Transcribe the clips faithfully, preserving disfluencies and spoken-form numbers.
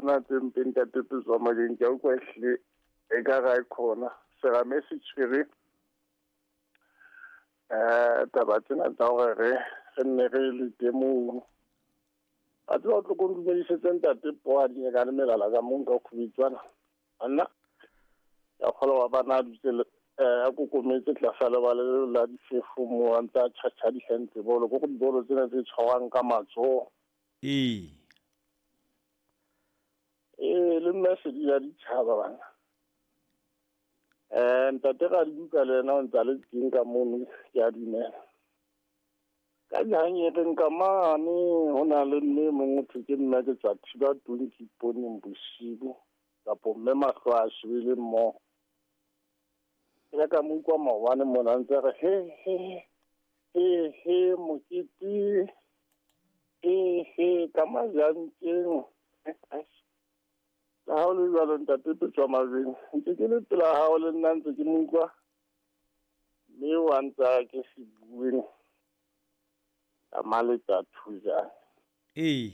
Ona tse mpe ntate Petswa Majeng ke a utlwa ehlile ekare ha e khona. Serame se tshwere eh taba tsena tsa hore re re nne re lete moo. A tseba o tlo ko ntumedisetse ntate Poadi ka le melala ka mong ka khubitswana. Anna ya kgolwa wa bana a dutse le eh a kokometse tlasa lebala leo la difefo moo a ntse a tjhatjha dihantle bolo ko dibolo tsena tse tshwarwang ka matsoho. Ee. Ee, le mme sedi ya ditjhaba bana. Eh ntate Radibuka le yena o ntse a le teng ka mono, ke a dumela. Ka jahang ka mane ho na le mme e mong ho thwe ke mme ke tswa thiba tonki pooneng bosibu kapo mme mahlo a shebile mmoho. Ke ile ka mo utlwa maobane mona a ntse a re he he he he mokete he he ka majanteng. Le ha ho le jwalo ntate Petswa Majeng ntse ke le pela hao le nna ntse ke mo utlwa mme wa ntse a ke se bueng ka maletsa thujane. Ee.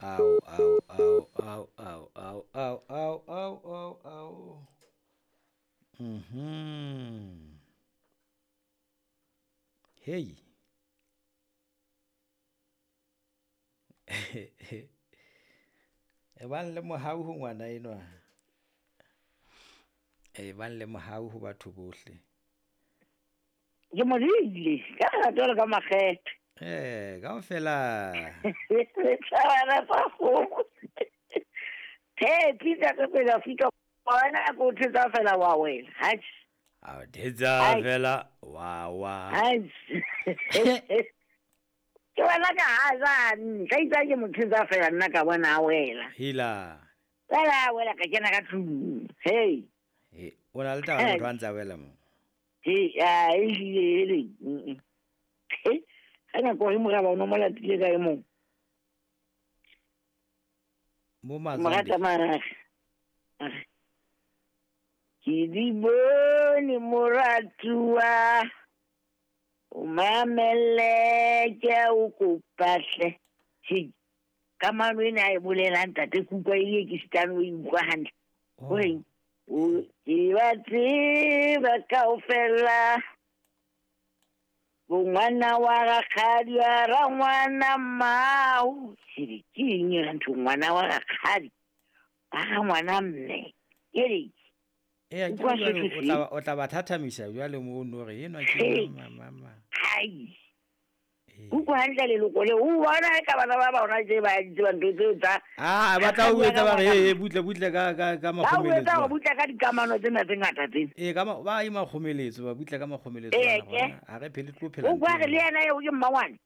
Ao ao ao ao ao ao ao ao ao ao ao. Mhm. Hey. E bang le mohau ho ngwana enwa. E bang le mohau ho batho bohle. Ke mo rile ka lerato le ka makgethe. Eh, kaofela. Tshwana tsa kgomo. He, pizza ka pela fika wena ko thetsa fela wa wena. Hatjhe. A thetsa fela wa wa. Hatjhe. Ke wena ka hazane, ka itsa ke mo thetsa fela nna ka bona a wela. Hila. Fela a wela ka kena ka tlung. Hey. He, o na le taba le motho a ntse a wela mo. He, a ehlile ele. Mm. He, ha nako e moraba o no mo latile ka e mong. Mo Mazande. Morata mara. Ke di bone moratuwa. O mamele ke a o kopa hle. He, kamano ena a e bolelang ntate ke utlwa e ke sitane o e utlwa hantle. Oh. Horeng o ke ba tseba kaofela. Bongwana wa rakgadi wa rangwana mmao. Ke ke eng yona ntho ngwana wa rakgadi? Wa rangwana mme. Ke re Eh, ke Utlwa jwale sotho o se. tla ba, o tla ba thathamisa jwale mo no re enwa ke Hey. mama mama. Hai. Eh. Utlwa hantle leloko leo. O bona e ka bana ba bona tse ba di tsebang ntho tseo tsa Ah, ba tla o rakgadi wa etsa ba re rangwana he butle butle ka ka ka Ba o etsa makgomeletso. hore butle ka dikamano tsena tse ngata tsena. Eh, ka ma ba e makgomeletso ba butle ka makgomeletso Ee, bana ke. bona. Ha re phele tlo phela. O kwa re le yena eo ke mmangwane.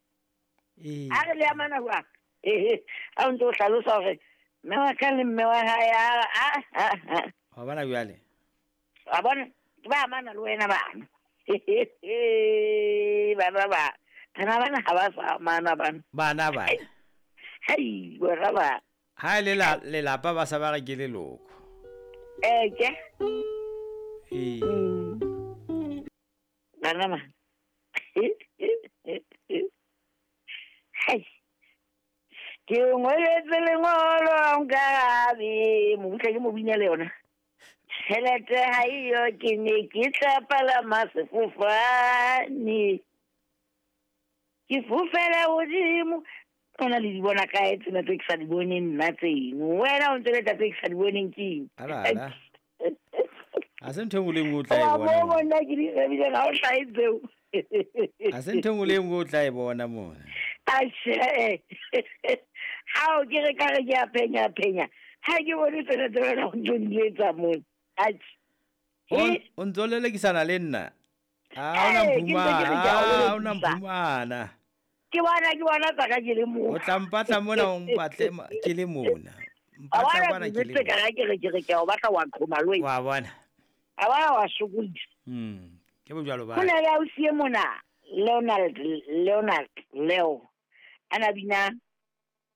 Eh. A re le amana jwang? Eh, ha o ntse o hlalosa hore mme wa ka le mme wa hae a a a a. Wa bona jwale. Wa bona ke ba amana le wena bana. Bana ba. Bana bana ha ba sa amana bana. Bana bana. Hei, bona ba. Ha le la lelapa ba sa ba re ke leloko. Eh, ke. Eh. Bana ba. Hei. Ke o ngoletse lengolo ha o nkarabe. Mobutla ke mo bina le yona. Tjhelete ha eyo ke ne ke tla palama sefofane. Ke fofela hodimo. Ona le di bona kae tsena tse ke sa di boneng nna tseno? Wena o ntse le tsa tse ke sa di boneng ke eng? Ala ala. Ha se ntho e nngwe le e nngwe o tla e Wa bona mo mona. bona ke di shebile ha o hlahe tseo. Ha se ntho e nngwe le e nngwe o tla e bona mona. Atjhe. Hao ke re ka re ke a phenya phenya. Ha ke bone tsena tse wena o ntso di etsa mona. Atjhe. O He? o ntso lelekisana le nna. Ha ona Eh, ke ntse ke re ke a o mphumana, ha ona lelekisa. mphumana. Ke bona ke bona tsa ka ke le mona. O tla mpatla mona o mpatle ma- ke le mona. A Mpatla bona kwana ke ke le jwetse ka mona. ra ke re ke re ke a o batla wa qhoma le wena. Wa bona. A bona wa sokodisa. Mm. Ke bojwalo ba. Ho na le ausi e mona, Leonard, Leonard, Leo. A na bina